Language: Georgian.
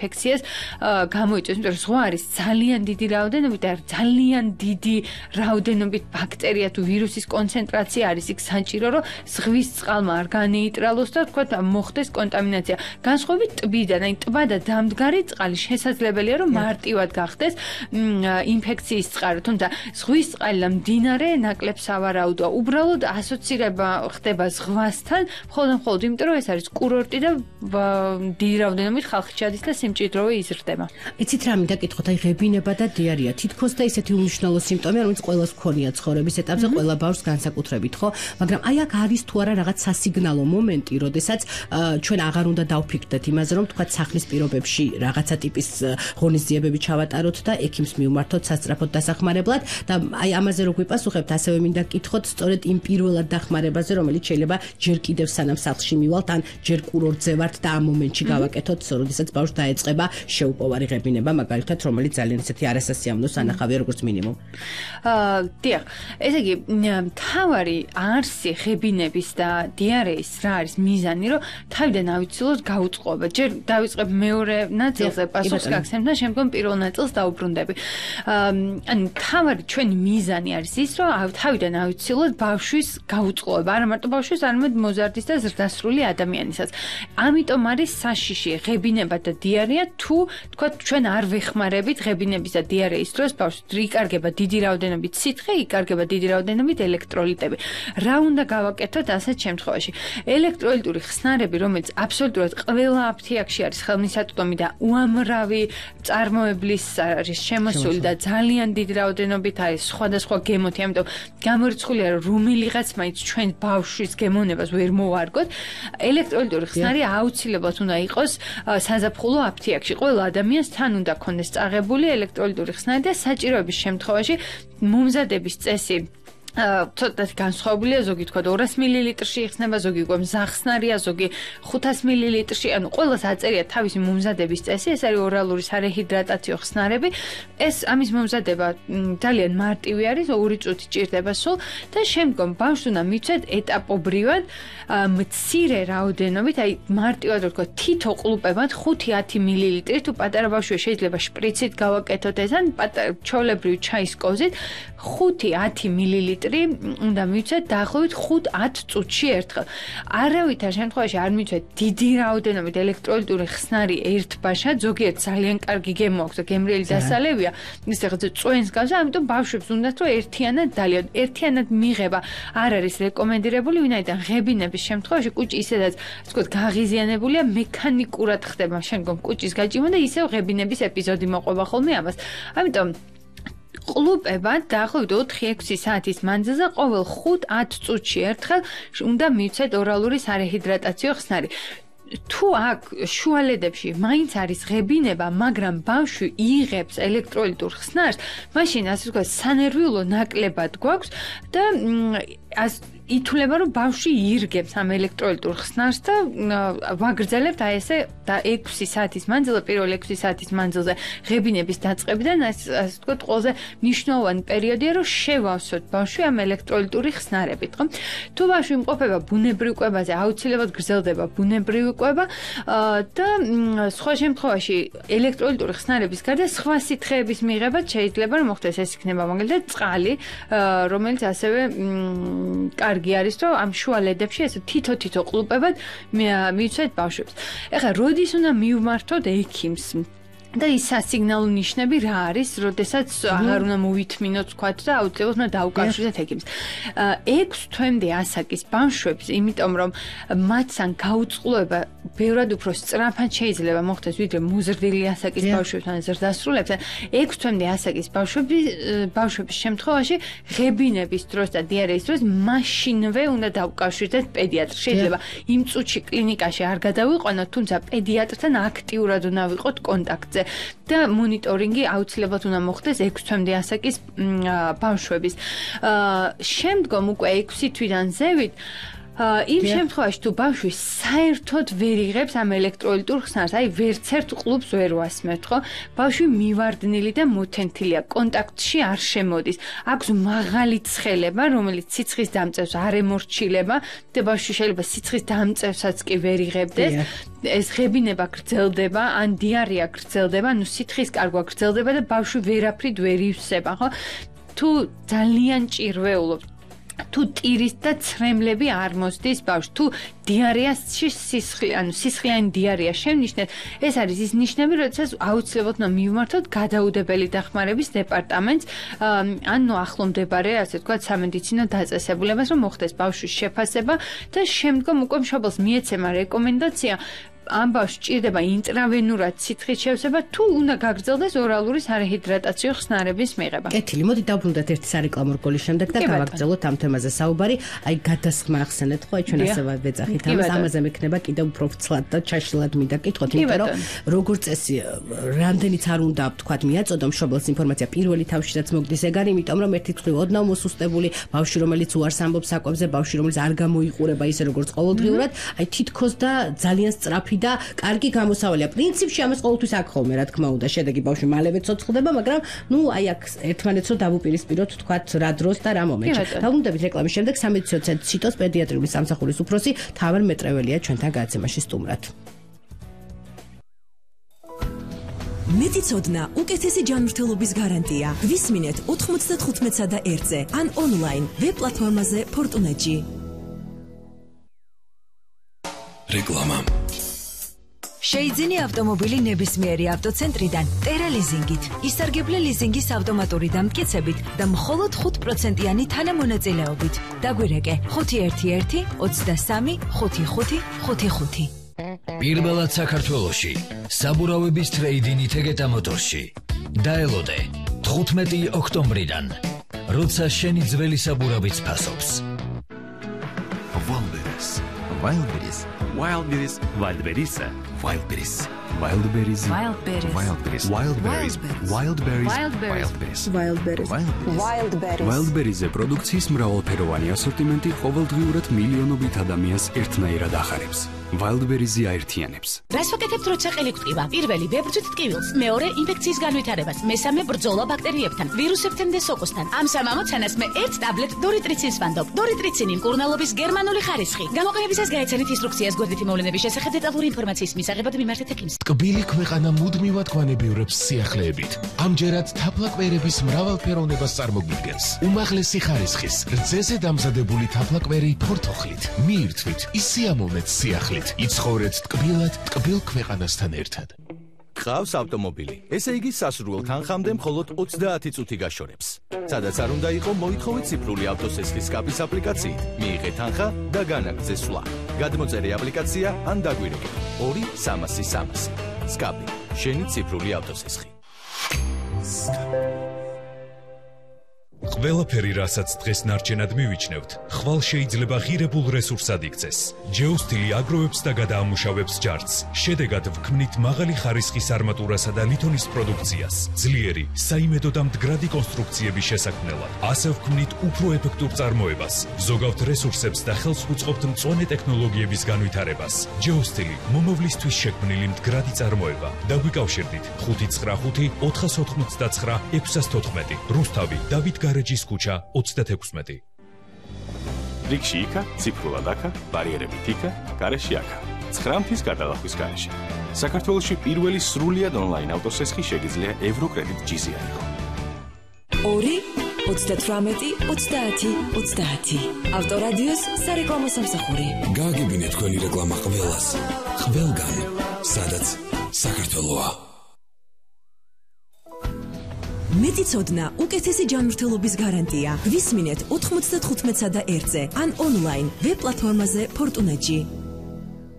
ინფექციას გამოიწვევს, იმიტომ რომ ზღვა არის ძალიან დიდი რაოდენობით და ძალიან დიდი რაოდენობით ბაქტერია თუ ვირუსის კონცენტრაცია არის იქ საჭირო, რომ ზღვის წყალმა არ განეიტრალოს და თქვათ მოხდეს კონტამინაცია. განსხვავებით ტბიდან, აი ტბა და დამდგარი წყალი შესაძლებელია რომ მარტივად გახდეს ინფექციის წყარო, თუმცა ზღვის წყალი და მდინარე ნაკლებს ავარაუდოა. უბრალოდ ასოცირება ხდება ზღვასთან, მხოლოდ იმიტომ რომ ეს არის კურორტი და დიდი რაოდენობით ხალხი ჩადის და სიმჭიდროვე იზრდება. იცით რა მინდა კითხოთ, აი ღებინება და დიარეა თითქოს და ისეთი უმნიშვნელო სიმპტომია, რომელიც ყველას ქონია ცხოვრების ეტაპზე, ყველა ბავშვს განსაკუთრებით, ხო? მაგრამ აი აქ არის თუ არა რაღაც სასიგნალო მომენტი, როდესაც ჩვენ აღარ უნდა დავფიქრდეთ იმაზე, რომ თქვა სახლის პირობებში რაღაცა ტიპის ღონისძიებები ჩავატაროთ და ექიმს მივმართოთ სასწრაფოდ დასახმარებლად და აი ამაზე რო გვიპასუხებთ, ასევე მინდა კითხოთ სწორედ იმ პირველად დახმარებაზე, რომელიც შეიძლება ჯერ კიდევ სანამ სახლში მივალთ, ან ჯერ კურორტზე ვართ და ამ მომენტში გავაკეთოთ, როდესაც ბავშვს დაეწყება შეუპოვარი ღებინება, მაგალითად, რომელიც ძალიან ისეთი არასასიამოვნო სანახავია როგორც მინიმუმ. დიახ, ესე იგი, მთავარი არსი ღებინების და დიარეის რა არის მიზანი, რომ თავიდან ავიცილოთ გაუწყობა. ჯერ დავიწყებ მეორე ნაწილზე პასუხს გაგცემ და შემდგომ პირველ ნაწილს დაუბრუნდები. ანუ მთავარი ჩვენი მიზანი არის ის, რომ თავიდან ავიცილოთ ბავშვის გაუწყობა, არა მარტო ბავშვის, არამედ მოზარდის და ზრდასრული ადამიანისაც. ამიტომ არის საშიში ღებინება და დიარეა, თუ თქვა ჩვენ არ ვეხმარებით ღებინების და დიარეის დროს ბავშვს იკარგება დიდი რაოდენობით სითხე, იკარგება დიდი რაოდენობით ელექტროლიტები. რა უნდა გავაკეთოთ ასეთ შემთხვევაში? ელექტროლიტური ხსნარები, რომელიც აბსოლუტურად ყველა აფთიაქში არის ხელმისაწვდომი და უამრავი წარმოებლის არის შემოსული და ძალიან დიდი რაოდენობით არის სხვადასხვა გემოთი, ამიტომ გამორიცხულია რომ რომელიღაც მაინც ჩვენ ბავშვის გემოვნებას ვერ მოვარგოთ. ელექტროლიტური ხსნარი აუცილებლად უნდა იყოს საზაფხულო აფთიაქში. ყველა ადამიანს თან უნდა ქონდეს წაღებული ელექტროლიტური ხსნარი და საჭიროების შემთხვევაში მომზადების წესი ცოტათი განსხვავებულია, ზოგი თქვა 200 მილilitrში იხსნება, ზოგი უკვე მზახსნარია, ზოგი 500 მილilitrში, ანუ ყველას აწერია თავისი მომზადების წესი, ეს არის ორალური სარეჰიდრატაციო ხსნარები. ეს ამის მომზადება ძალიან მარტივი არის, 2 წუთი ჭირდება სულ და შემდგომ ბავშვს უნდა მიცვეთ ეტაპობრივად მცირე რაოდენობით, აი მარტივად რო თქვა თითო ყლუპებად 5-10 მილილიტრი, თუ პატარა ბავშვია შეიძლება შპრიცით გავაკეთოთ ეს, ან ჩვეულებრივ ჩაის კოზით 5-10 მილილიტრი უნდა მივცეთ დაახლოებით 5-10 წუთში ერთხელ. არავითარ შემთხვევაში არ მივცეთ დიდი რაოდენობით ელექტროლიტური ხსნარი ერთბაშად, ზოგიერთ ძალიან კარგი გემო აქვს და გემრიელი დასალევია, ის რაღაცა წვენს გავს, ამიტომ ბავშვებს უნდათ რომ ერთიანად მიღება არ არის რეკომენდირებული, ვინაიდან ღებინების შემთხვევაში კუჭი ისედაც თქვა გაღიზიანებულია, მექანიკურად ხდება შემდგომ კუჭის გაჭიმა და ისევ ღებინების ეპიზოდი მოყვება ხოლმე ამას. ამიტომ ყლუპებად დაახლოებით 4-6 საათის მანძილზე ყოველ 5-10 წუთში ერთხელ უნდა მივცეთ ორალური სარეჰიდრატაციო ხსნარი. თუ აქ შუალედებში მაინც არის ღებინება, მაგრამ ბავშვი იღებს ელექტროლიტურ ხსნარს, მაშინ ასე ვთქვათ, სანერვიულო ნაკლებად გვაქვს და ითვლება, რომ ბავშვი ირგებს ამ ელექტროლიტურ ხსნარს და ვაგრძელებთ აი ესე და 6 საათის მანძილზე, პირველ 6 საათის მანძილზე ღებინების დაწყებიდან, ასე ვთქვათ, ყველაზე მნიშვნელოვანი პერიოდია, რომ შევავსოთ ბავშვი ამ ელექტროლიტური ხსნარებით, ხო? თუ ბავშვი იმყოფება ბუნებრივ კვებაზე, აუცილებლად გრძელდება ბუნებრივი კვება და სხვა შემთხვევაში ელექტროლიტური ხსნარების გარდა სხვა სითხეების მიღებაც შეიძლება რომ მოხდეს, ეს იქნება მაგალითად წყალი, რომელიც ასევე კარგი არის, რომ ამ შუალედებში ესე თითო ყლუპებად მივცეთ ბავშვებს. ეხლა როდის უნდა მივმართოთ ექიმს? და ის სასიგნალო ნიშნები რა არის, როდესაც აღარ უნდა მოვითმინოთ თქვათ და აუცილებლად უნდა დაუკავშირდეთ ექიმს. 6 თვემდე ასაკის ბავშვებს, იმიტომ რომ მათთან გაუწყლოება ბევრად უფრო სწრაფად შეიძლება მოხდეს, ვიდრე მოზრდილი ასაკის ბავშვებთან ზრდასრულებთან. 6 თვემდე ასაკის ბავშვების შემთხვევაში ღებინების დროს და დიარეის დროს მაშინვე უნდა დაუკავშირდეთ პედიატრს. შეიძლება იმ წუთში კლინიკაში არ გადავიყვანოთ, თუმცა პედიატრთან აქტიურად უნდა ვიყოთ კონტაქტზე. და მონიტორინგი აუცილებლად უნდა მოხდეს 6 თვემდე ასაკის ბავშვების. შემდგომ უკვე 6 თვიდან ზევით იმ შემთხვევაში თუ ბავშვი საერთოდ ვერ იღებს ამ ელექტროლიტურ ხსნარს, აი ვერც ერთ კლუბს ვერ ვასმევთ, ხო? ბავშვი მივარდნილი და მოთენთილია, კონტაქტში არ შემოდის. აქვს მაღალი ცხელება, რომელიც სიცხის დამწევს არ ემორჩილება და ბავშვი შეიძლება სიცხის დამწევსაც კი ვერ იღებდეს. ეს ღებინება გრძელდება, ან დიარეა გრძელდება, ანუ სითხის კარგვა გრძელდება და ბავშვი ვერაფრით ვერ ივსება, ხო? თუ ძალიან ჭირვეულობ, თუ ტირის და ცრემლები არ მოსდის ბავშვს, თუ დიარეაში სისხლიანი დიარეა შემნიშნეთ, ეს არის ის ნიშნები, როდესაც აუცილებლად უნდა მივმართოთ გადაუდებელი დახმარების დეპარტამენტს, ანუ ახლო მდებარე, ასე ვთქვათ, სამედიცინო დაწესებულებას, რომ მოხდეს ბავშვის შეფასება და შემდგომ უკვე მშობელს მიეცემა რეკომენდაცია ამ ბავშვს ჭირდება ინტრავენურად სითხის შევსება თუ უნდა გაგრძელდეს ორალური სარეჰიდრატაციო ხსნარების მიღება. კეთილი, მოდი დავბრუნდეთ ერთი სარეკლამო რგოლის შემდეგ და გავაგრძელოთ ამ თემაზე საუბარი. აი გადასხმა ახსენეთ, ხო, ჩვენ ასე ვეძახით ამას, ამაზე მექნება კიდევ უფრო ვრცლად და ჩაშლილად მინდა კითხოთ, იმიტომ რომ როგორც წესი, რამდენიც არ უნდა ვთქვათ, მიაწოდო მშობელს ინფორმაცია პირველი თავშიდაც მოგდის ეგ არის, იმიტომ რომ ერთი მხრივ ოდნავ მოსუსტებული ბავშვი, რომელიც უარს ამბობს საკვებზე, ბავშვი, რომელიც არ გამოიყურება ისე როგორც ყოველდღიურად, აი თითქოს და ძალიან სწრაფი და კარგი გამოსავალია. პრინციპში ამას ყოველთვის აქ ხოლმე, რა თქმა უნდა, შედეგი ბავშვი მალევე ცოცხლდება, მაგრამ ნუ აი აქ ერთმანეთს რო დავუპირისპიროთ, თქვათ რა დროს და რა მომენტში. დავუნდებით რეკლამის შემდეგ სამედიცინო ცენტრ ციტოს პედიატრიული სამსახურის უფროსი თავარ მეტრეველია ჩვენთან გადაცემაში სტუმრად. მეტიცოდნა უკეთესი ჯანმრთელობის გარანტია. გვისმინეთ 95-სა და 1-ზე ან ონლაინ ვებ პლატფორმაზე Fortune-ში. რეკლამა. შეიძინე ავტომობილი ნებისმიერი ავტოცენტრიდან ტერა ლიზინგით. ისარგებლე ლიზინგის ავტომატური დამტკიცებით და მხოლოდ 5%-იანი თანამონაწილეობით. დაგვირეკე 511 23 55 55. პირველად საქართველოში საბურავების ტრეიდინი თეგეტა მოტორში. დაელოდე 15 ოქტომბრიდან, როცა შენი ძველი საბურავიც ფასობს. Wildberries. Wildberries. Wildberries. Wildberries. Wildberries. Wildberries. Wildberries. Wildberries. Wildberries. Wildberries-ზე პროდუქციის მრავალფეროვანი ასორტიმენტი ყოველდღიურად მილიონობით ადამიანს ერთნაირად ახარებს. Wildberries-ი აერთიანებს. რას ვაკეთებთ, როცა ყელი გვტკივა? პირველი ვებრძვით ტკივილს, მეორე ინფექციის განვითარებას, მესამე ბრძოლა ბაქტერიებთან, ვირუსებთან და სოკოსთან. ამ სამ ამოცანას მე ერთ ტაბლეტ დორიტრიცინს ვანდობ. დორიტრიცინი მკურნალობის გერმანული ხარისხი. გამოყენებისას გაეცანით ინსტრუქციას გვერდითი მოვლენების შესახებ დეტალური ინფორმაციის მისაღებად მიმართეთ ექიმს. ტკბილი ქვეყანა მუდმივად გვანებიურებს სიახლეებით. ამჯერად თაფლაკვერების მრავალფეროვნებას წარმოგვიდგენს. უმაღლესი ხარისხის, რძეზე დამზადებული თაფლაკვერი ფორთოხლით. მიირთვით, ისიამოვნეთ სიახლით. იცხოვრეთ ტკბილად, ტკბილ ქვეყანასთან ერთად. გყავს ავტომობილი. ესე იგი სასურველ თანხამდე მხოლოდ 30 წუთი გაშორებს. სადაც არ უნდა იყო, მოითხოვეთ ციფრული ავტოსესხლის სკაპის აპლიკაციით. მიიღეთ თანხა და განაგრძე სვლა. გადმოწერე აპლიკაცია ან დაგვირეკე 2-300-300. სკაპი, შენი ციფრული ავტოსესხი. ყველაფერი, რასაც დღეს ნარჩენად მივიჩნევთ, ხვალ შეიძლება ღირებულ რესურსად იქცეს. ჯეოსტილი აგროვებს და გადაამუშავებს ჯარცს. შედეგად ვქმნით მაღალი ხარისხის არმატურასა და ლითონის პროდუქციას, ძლიერი, საიმედო და მდგრადი კონსტრუქციების შესაქმნელად. ასე ვქმნით უფრო ეფექტურ წარმოებას, ზოგავთ რესურსებს და ხელს უწყობთ მწვანე ტექნოლოგიების განვითარებას. ჯეოსტილი მომავლისთვის შექმნილი მდგრადი წარმოება. დაგვიკავშირდით 595 499 614. რუსთავი, დავით გარეჯის ქუჩა 36. რიგში იქა, ციფრულად აქა, ბარიერებით იქა, გარეში აქა. 9 მთის გადალახვის გარეშე. საქართველოში პირველი სრულიად ონლაინ ავტოსესხი შეგიძლია ევროკრედიტ ჯიზი აიღო. 2-30-30-30. ავტორადიოს სარეკლამო სამსახური. გააგებინე თქვენი რეკლამა ყველას. ყველგან, სადაც საქართველოა. მეტიცოდნა უკეთესი ჯანმრთელობის გარანტია. გვისმინეთ 95-სა და 1-ზე ან ონლაინ ვებ პლატფორმაზე Fortune-ში.